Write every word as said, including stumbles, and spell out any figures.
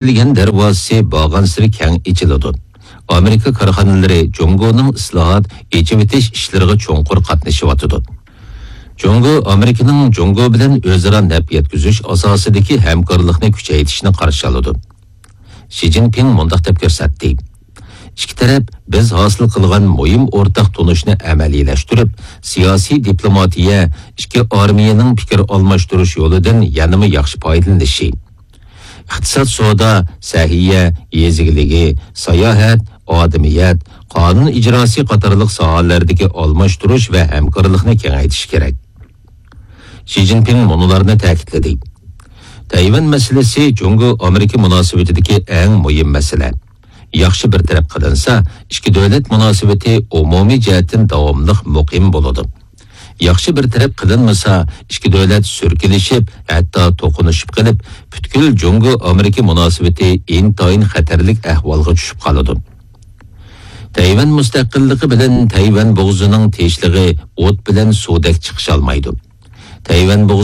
ئېچىلگەن دەرۋازىسى بارغانسېرى كەڭ ئېچىلىدۇ. ئامېرىكا كارخانىلىرى جۇڭگونىڭ ئىسلاھات، ئېچىۋېتىش ئىشلىرىغا چوڭقۇر قاتنىشىۋاتىدۇ. جۇڭگو ئامېرىكىنىڭ جۇڭگو بىلەن ئۆزئارا نەپ يەتكۈزۈش ئاساسىدىكى ھەمكارلىقنى كۈچەيتىشنى قارشى ئالىدۇ. شى جىنپىڭ مۇنداق دەپ كۆرسەتتى: ئىككى تەرەپ بىز ھاسىل قىلغان مۇھىم ئورتاق تونۇشنى ئەمەلىيلەشتۈرۈپ، سىياسىي دىپلوماتىيە، ئىككى ئارمىيەنىڭ پىكىر ئالماشتۇرۇش يولىدىن يەنىمۇ ياخشى پايدىلىنىشى، ئىقتىساد، سودا، سەھىيە، يېزا ئىگىلىكى، ساياھەت، ئادىمىيەت، قانۇن ئىجراسى قاتارلىق ساھەلەردىكى ئالماشتۇرۇش ۋە ھەمكارلىقنى كېڭەيتىش كېرەك. شى جىنپىڭ مۇنۇلارنى تەكىتلىدى: تەيۋەن مەسىلىسى جۇڭگو ئامېرىكا مۇناسىۋىتىدىكى ئەڭ مۇھىم مەسىلە. ياخشى بىر تەرەپ قىلىنسا، ئىككى دۆلەت مۇناسىۋىتى ئومۇمىي جەھەتتىن داۋاملىق مۇقىم بولىدۇ. ياخشى بىر تەرەپ قىلىنمىسا، ئىككى دۆلەت سۈركىلىشىپ، ھەتتا توقۇنۇشۇپ قېلىپ، پۈتكۈل جۇڭگو ئامېرىكا مۇناسىۋىتى ئىنتايىن خەتەرلىك ئەھۋالغا چۈشۈپ قالىدۇ. تەيۋەن مۇستەقىللىقى بىلەن تەيۋەن بوغۇزىنىڭ تىنچلىقى ئوت بىلەن سۇدەك چىقىشالمايدۇ. تەيۋەن بوغۇزى